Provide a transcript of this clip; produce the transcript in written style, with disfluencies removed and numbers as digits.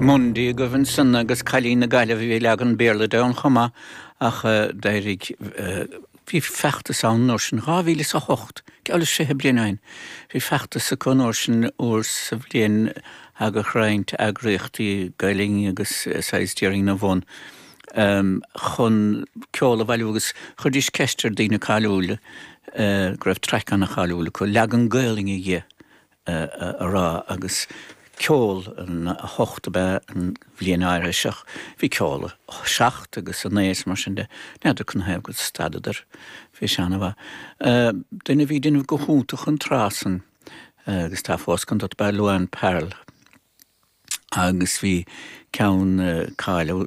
Mundy agaibh ansan agus Cailín na Gaillimhe, bhí leagan Béarla de ann chomh maith ach d'éirigh, bhí feachtas ann an uair sin, 2008, geall le 20 bliain ó shin, bhí feachtas acu an uair sin, uair sa bhliain thagadh roinnt eagraíochtaí Gaelainne agus saghas déarfainn ina bhun chun ceol a bhailiú agus chuiridís ceist ar daoine cáiliúla go raibh traic ana-cháiliúil acu, leagan Gaelainne dhe a rá agus ceol an 8 ab ea an bhliain áirithe seo. Bhí ceol 7 agus 9 is mar sin de. N'fheadar canathaobh gur stadadar. Bhí sé ana-mhaith. Duine a bhí ag déanamh go hiontach an tráth san agus tá fós gan dabht ab ea Luann Pearl agus bhí ceann cáiliúil.